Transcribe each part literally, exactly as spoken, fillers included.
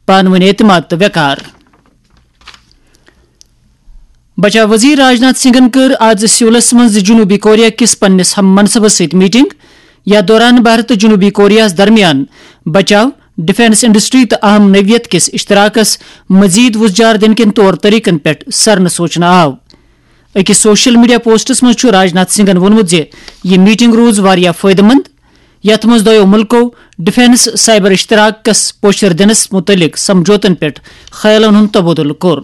پانہٕ ؤنۍ اعتماد تہٕ وقار۔ بچاو وزیر راجناتھ سنگھن کٔر آز سیولس منٛز جنوبی کوریا کِس پننِس ہم منصبس سۭتۍ میٹنگ۔ یتھ دوران بھارت تہٕ جنوبی کوریاہس درمیان بچاو، ڈیفنس انڈسٹری تہٕ اہم نوعیت کِس اشتراکس مزید وُژجار دِنہٕ کٮ۪ن طور طریقن پٮ۪ٹھ سرنہٕ سوچنہٕ آو۔ أکِس سوشل میڈیا پوسٹس منٛز چھُ راجناتھ سنگھن ووٚنمُت زِ یہِ میٹنگ روٗز واریاہ فٲیدٕ مند، یتھ منٛز دۄیو مُلکو ڈیفنس سائبر اشتراکس پوچھر دِنس مُتعلق سمجھوتن پٮ۪ٹھ خیالن ہُنٛد تبادلہٕ کوٚر۔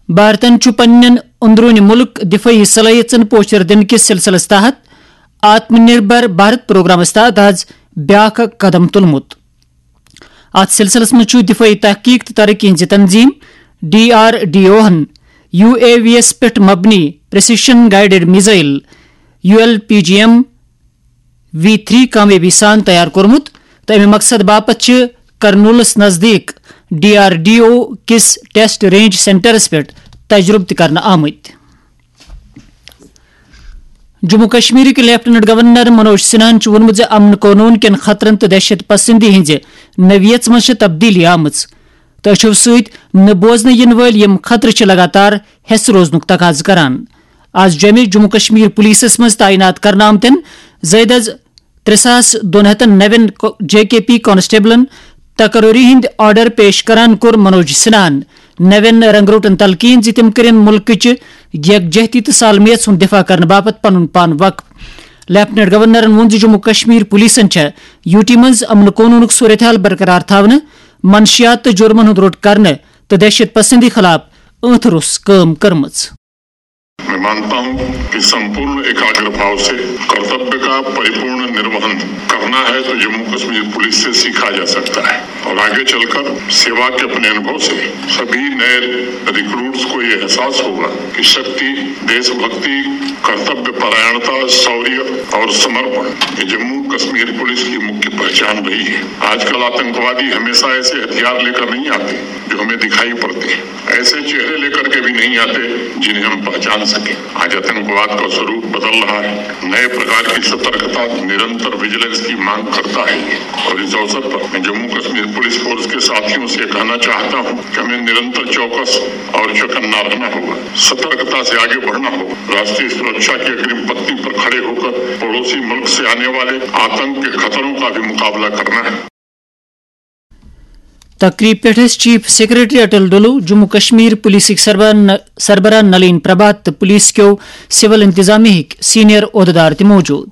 بھارتن چھُ پننٮ۪ن اندرونی ملک دفٲعی صلٲحیژن پوچھر دِنہٕ کِس سلسلس تحت آتم نربھر بھارت پروگرامس تحت آز بیاکھ اکھ قدم تُلمُت۔ اتھ سلسلس منٛز چھُ دفٲعی تحقیق تہٕ ترقی ہٕنٛزِ تنظیم ڈی آر ڈی او ہن یو اے وی یس پٮ۪ٹھ مبنی precision guided missile, U L P G M V three کامیٲبی سان تیار کوٚرمُت تہٕ اَمہِ مقصد باپتھ چھِ کرنولس نزدیٖک ڈی آر ڈی او کِس ٹیسٹ رینج سینٹرس پٮ۪ٹھ تجربہٕ تہِ کرنہٕ آمٕتۍ۔ جموں کشمیرٕکۍ لیفٹیننٹ گورنر منوج سنہاہن چھُ ووٚنمُت زِ امن قونوٗن کٮ۪ن خطرن تہٕ دہشت پسندی ہٕنٛزِ نوعیژ منٛز چھِ تبدیلی آمٕژ تہٕ أچھو سۭتۍ نہٕ بوزنہٕ یِنہٕ وٲلۍ یِم خطرٕ چھِ لگاتار ہٮ۪س روزنُک تقاضہٕ کران۔ آز جوٚمہِ جموں کشمیر پولیسس منٛز تعینات کرنہٕ آمتٮ۪ن زٲیدٕ از ترٛےٚ ساس دۄن ہتن نوٮ۪ن کو-، جے کے پی کانسٹیبلن تقرری ہٕنٛدۍ آرڈر پیش کران کوٚر منوج سنہاہن نوٮ۪ن رنگروٹن تلقین زِ تِم کٔرِن مُلکٕچہِ یکجہتی تہٕ سالمیت ہُنٛد دفاع کرنہٕ باپتھ پنُن پان وقف۔ لیفٹیننٹ گورنرن ووٚن زِ جموں کشمیر پولیسن چھےٚ یوٗ ٹی منٛز امن قونوٗنُک صورتحال برقرار تھاونہٕ، منشیات تہٕ جرمن ہُنٛد روٚٹ کرنہٕ تہٕ دہشت پسندی خلاف ٲنٛتھ روٚس کٲم کٔرمٕژ۔ मैं मानता हूं कि संपूर्ण एकाग्र भाव से कर्तव्य का परिपूर्ण निर्वहन करना है तो जम्मू कश्मीर पुलिस से सीखा जा सकता है और आगे चलकर सेवा के अपने अनुभव से सभी नए रिक्रूट्स को ये एहसास होगा कि शक्ति, देशभक्ति, कर्तव्य परायणता, शौर्य और समर्पण, ये जम्मू कश्मीर पुलिस की मुख्य पहचान रही है। आजकल आतंकवादी हमेशा ऐसे हथियार लेकर नहीं आते जो हमें दिखाई पड़ते हैं, ऐसे चेहरे लेकर के भी नहीं आते जिन्हें हम पहचान सकें। आज आतंकवाद का स्वरूप बदल रहा है। नए प्रकार की सतर्कता, निरंतर विजिलेंस की मांग करता है ये। और इस अवसर पर मैं जम्मू कश्मीर पुलिस फोर्स के साथियों से कहना चाहता हूं कि हमें निरंतर चौकस और चौकन्ना रहना होगा, सतर्कता से आगे बढ़ना होगा, राष्ट्रीय सुरक्षा की अग्रिम पंक्ति पर खड़े होकर पड़ोसी मुल्क से आने वाले आतंक के खतरों का भी मुकाबला करना है। تقریب پٮ۪ٹھ ٲسۍ چیف سیکرٹری اٹل ڈولو، جموں کشمیر پولیسٕکۍ سربراہ ن-، سربراہ نلین پربھات تہٕ پولیس کیو سول انتظامیہ ہٕکۍ سینئر عہدٕدار تہِ موجود۔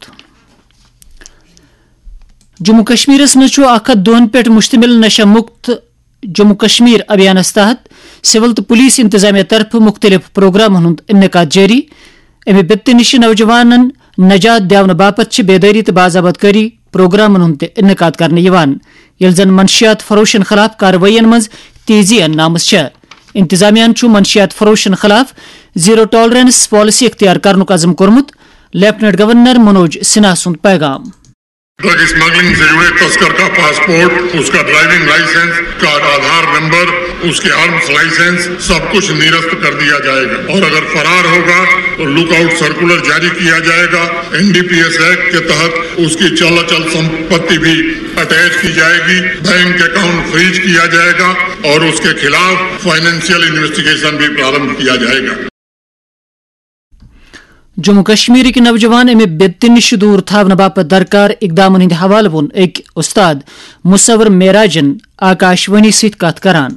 جموں کشمیرس منٛز چھُ اکھ ہتھ دۄہن پٮ۪ٹھ مشتمل نشہ مکت جموں کشمیر ابھیانس تحت سول تہٕ پولیس انتظامیہ طرفہٕ مختلف پروگرامن ہُنٛد انعقاد جٲری۔ اَمہِ بِپتہِ نِش چھِ نوجوانن نجات دِیاونہٕ باپتھ چھِ بیدٲری تہٕ باضابطگٲری پروگرامن ہُنٛد تہِ انعقاد کرنہٕ یِوان، ییٚلہِ زن منشیات فروشن خلاف کاروٲیین منٛز تیزی اننہٕ آمٕژ چھےٚ۔ انتظامیہ ہَن چھُ منشیات فروشن خلاف زیرو ٹالرنس پالیسی اختیار کرنُک عزم کوٚرمُت، لیفٹیننٹ گورنر منوج سنہا سُنٛد پیغام۔ ڈرگ اسمگلنگ سے جڑے تسکر کا پاسپورٹ، اس کا ڈرائیونگ لائسنس، اس کا آدھار نمبر، اس کے آرمز لائسنس، سب کچھ نرست کر دیا جائے گا اور اگر فرار ہوگا تو لک آؤٹ سرکولر جاری کیا جائے گا۔ N D P S act کے تحت اس کی چل اچل سمپتی بھی اٹیچ کی جائے گی، بینک اکاؤنٹ فریز کیا جائے گا اور اس کے خلاف فائنینشیل انویسٹیگیشن بھی پرارمبھ کیا جائے گا۔ جموں کشمیرٕکۍ نوجوان اَمہِ بدعتہِ نِش دوٗر تھاونہٕ باپتھ درکار اقدامن ہٕنٛدِ حوالہٕ ووٚن أکۍ استاد مصور معراجن آکاش وانی سۭتۍ کتھ کران۔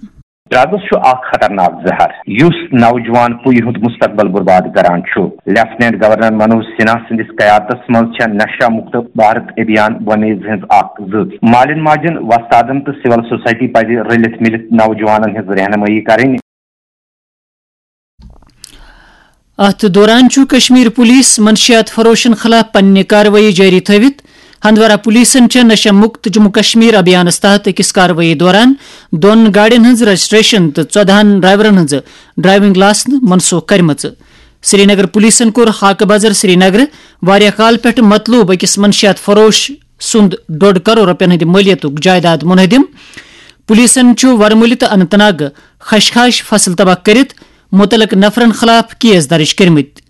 ڈرگس چھُ اکھ خطرناک زہر یُس نوجوان پُیہِ ہُنٛد مستقبل برباد کران چھُ۔ لیفٹیننٹ گورنر منوج سنہا سٕنٛدِس قیادتس منٛز چھےٚ نشہ مکت بھارت ابھیان وۄمیز ہٕنٛز اکھ زٔژ۔ مالٮ۪ن ماجٮ۪ن، وۄستادن تہٕ سول سوسائٹی پزِ رٔلِتھ مِلِتھ نوجوانن ہٕنٛز رہنمٲیی کرٕنۍ۔ اتھ دوران چھُ کشمیر پولیس منشیات فروشن خلاف پننہِ کاروٲیی جٲری تھٲوِتھ۔ ہندوارہ پولیسن چھےٚ نشہ مکت جموں کشمیر ابھیانس تحت أکِس کاروٲیی دوران دۄن گاڑٮ۪ن ہٕنٛز رجسٹریشن تہٕ ژۄدہن ڈرائیورن ہٕنٛز ڈرائیونگ لائسنس منسوخ کٔرمٕژ۔ سرینگر پولیسن کوٚر ہاکہٕ بازر سرینگر واریاہ کال پٮ۪ٹھ مطلوب أکِس منشیات فروش سُنٛد ڈوٚڈ کرور رۄپین ہٕنٛدِ مٲلیتُک جائیداد منہدم۔ پولیسن چھُ ورمُلہِ تہٕ اننت ناگ خشخاش فصل تباہ کٔرِتھ مُتعلق نفرن خلاف کیس درج کٔرمٕتۍ۔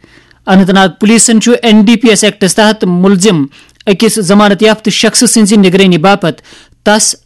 اننت ناگ پولیسن چھُ N D P S acts تحت ملزم أکِس ضمانت یافتہٕ شخصہٕ سٕنٛزِ نگرٲنی باپتھ تس اتھس